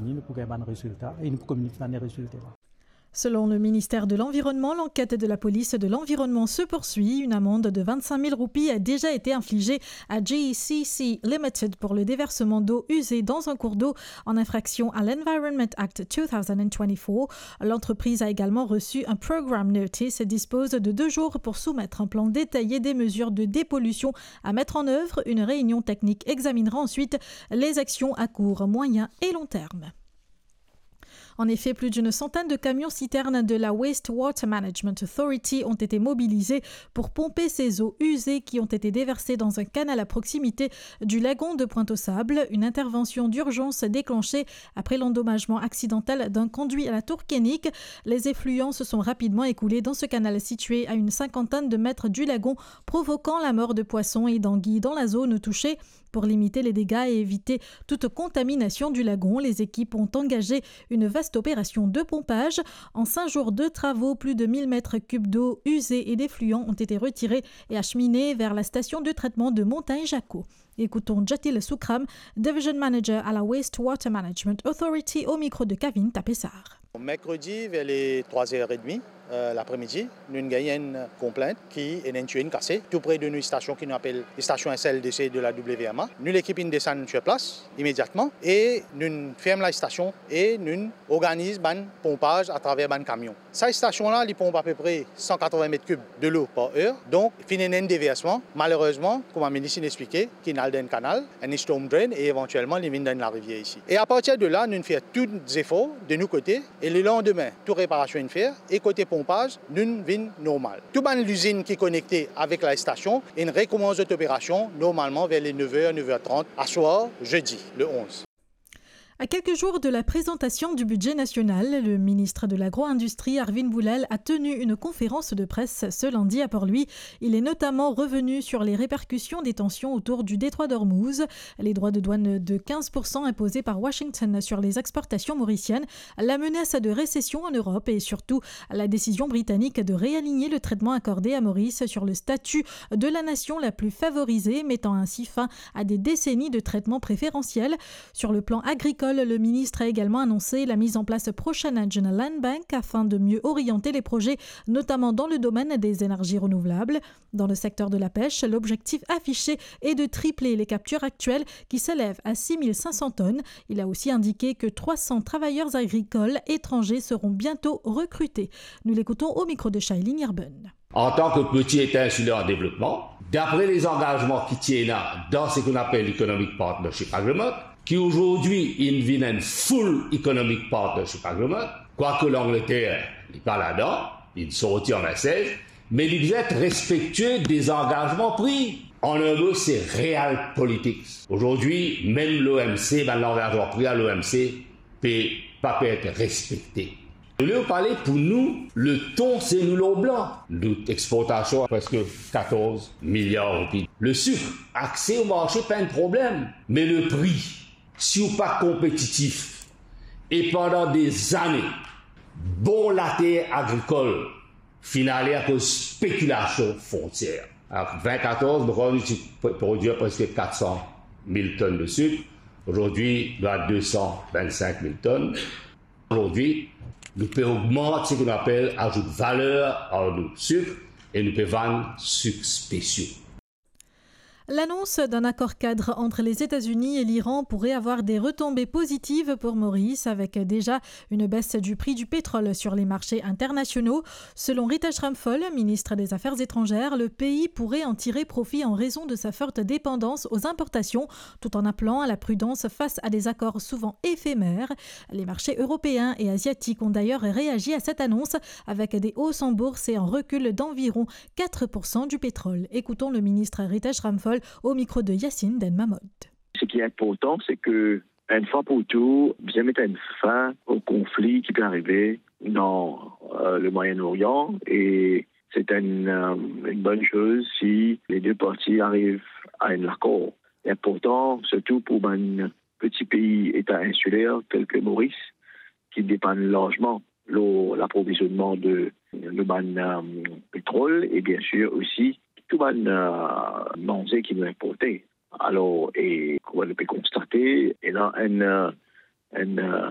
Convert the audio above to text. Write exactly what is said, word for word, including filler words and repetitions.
Nou pou gagn bann rezilta e nou pou kominik bann rezilta la. Selon le ministère de l'Environnement, l'enquête de la police de l'environnement se poursuit. Une amende de vingt-cinq mille roupies a déjà été infligée à G E C C Limited pour le déversement d'eau usée dans un cours d'eau en infraction à l'Environment Act deux mille vingt-quatre. L'entreprise a également reçu un program notice et dispose de deux jours pour soumettre un plan détaillé des mesures de dépollution à mettre en œuvre. Une réunion technique examinera ensuite les actions à court, moyen et long terme. En effet, plus d'une centaine de camions-citernes de la Waste Water Management Authority ont été mobilisés pour pomper ces eaux usées qui ont été déversées dans un canal à proximité du lagon de Pointe-aux-Sables. Une intervention d'urgence déclenchée après l'endommagement accidentel d'un conduit à la Tour Koenig. Les effluents se sont rapidement écoulés dans ce canal situé à une cinquantaine de mètres du lagon, provoquant la mort de poissons et d'anguilles dans la zone touchée. Pour limiter les dégâts et éviter toute contamination du lagon, les équipes ont engagé une vaste opération de pompage. En cinq jours de travaux, plus de mille mètres cubes d'eau usée et d'effluents ont été retirés et acheminés vers la station de traitement de Montagne Jacquot. Écoutons Jatil Soukram, Division Manager à la Waste Water Management Authority, au micro de Kavin Tapessar. Mercredi, vers les trois heures et demie, euh, l'après-midi, nou gagn enn konplint ki ena enn tiyo inn kase tou pre de nou stasion ki nou apel stasion S L D C de la W M A. Nou lekip inn desann sur plas imediatman e nou ferm la stasion e nou organiz bann ponpaz atraver bann kamion. Sa stasion la, li ponp apepre san katrovin met kib delo par er. Donk, finn ena enn deversman. Malerezman, kouma minis inn explike, ki'nn al dan enn kanal, enn storm drain, e evantielman, li vinn dan enn larivier isi. E apartir de la, nou fer tou zefor de nou kote, e lelandime, tou reparasion inn fer, e kote ponpaz, nou vinn normal. Tou bann lizinn ki konekte avek la stasion, inn rekoumans zot operasion normalman ver le nev er, nev er trant, aswar, zedi, le onz. À quelques jours de la présentation du budget national, le ministre de l'Agro-industrie, Arvind Bhulal, a tenu une conférence de presse ce lundi à Port-Louis. Il est notamment revenu sur les répercussions des tensions autour du détroit d'Ormuz, les droits de douane de quinze pour cent imposés par Washington sur les exportations mauriciennes, la menace de récession en Europe et surtout la décision britannique de réaligner le traitement accordé à Maurice sur le statut de la nation la plus favorisée, mettant ainsi fin à des décennies de traitements préférentiels. Sur le plan agricole, le ministre a également annoncé la mise en place prochaine d'une land bank afin de mieux orienter les projets, notamment dans le domaine des énergies renouvelables. Dans le secteur de la pêche, l'objectif affiché est de tripler les captures actuelles qui s'élèvent à six mille cinq cents tonnes. Il a aussi indiqué que trois cents travailleurs agricoles étrangers seront bientôt recrutés. Nous l'écoutons au micro de Shailene Irben. Antan ki peti eta insiler an devlopman, dapre lezangazman ki ti ena dan seki nou apel Economic Partnership Agreement, ki azordi inn vinn enn full Economic Partnership Agreement, kwake Langleter, li pa ladan, li sorti an vinnsez, me li bizin et respektie dezangazman pri. An enn mo, se real politics. Azordi, mem l'O M C, bann langazman pri a l'O M C, pe pa pe et respekte. Nou pale pou nou, le ton se nou lor blan. Nou exportasion preske katorz miliar roupi. Le sik, akse o marse pa enn problem, me le pri, si ou pa konpetitif, e pandan dezane, bon later agrikol finn ale akoz spekilasion fontier. An vin katorz, nou krwar nou ti pr-, prodwir preske kat san mil tonn de sik. Azordi, nou a de san vinn-sink mil tonn. Azordi, nou pe ogmant seki nou apel azout valer ar nou sik e nou pe vann sik spesio. L'annonce d'un accord cadre entre les États-Unis et l'Iran pourrait avoir des retombées positives pour Maurice, avec déjà une baisse du prix du pétrole sur les marchés internationaux. Selon Ritesh Ramphal, ministre des Affaires étrangères, le pays pourrait en tirer profit en raison de sa forte dépendance aux importations, tout en appelant à la prudence face à des accords souvent éphémères. Les marchés européens et asiatiques ont d'ailleurs réagi à cette annonce, avec des hausses en bourse et un recul d'environ quatre pour cent du pétrole. Écoutons le ministre Ritesh Ramphal au micro de Yacine Denmamod. Ce qui est important, c'est que, une fois pour tout, bien mettre une fin au conflit qui peut arriver dans, euh, le Moyen-Orient, et c'est une, euh, une bonne chose si les deux parties arrivent à un accord. Important, surtout pour un petit pays, État insulaire tel que Maurice, ki depann larzman lor laprovizonnman de, de bann, euh, petrol e bien sir osi tou bann, euh, manze ki nou inporte. Alor, e kouma nou pe konstate, ena enn, euh, enn, euh,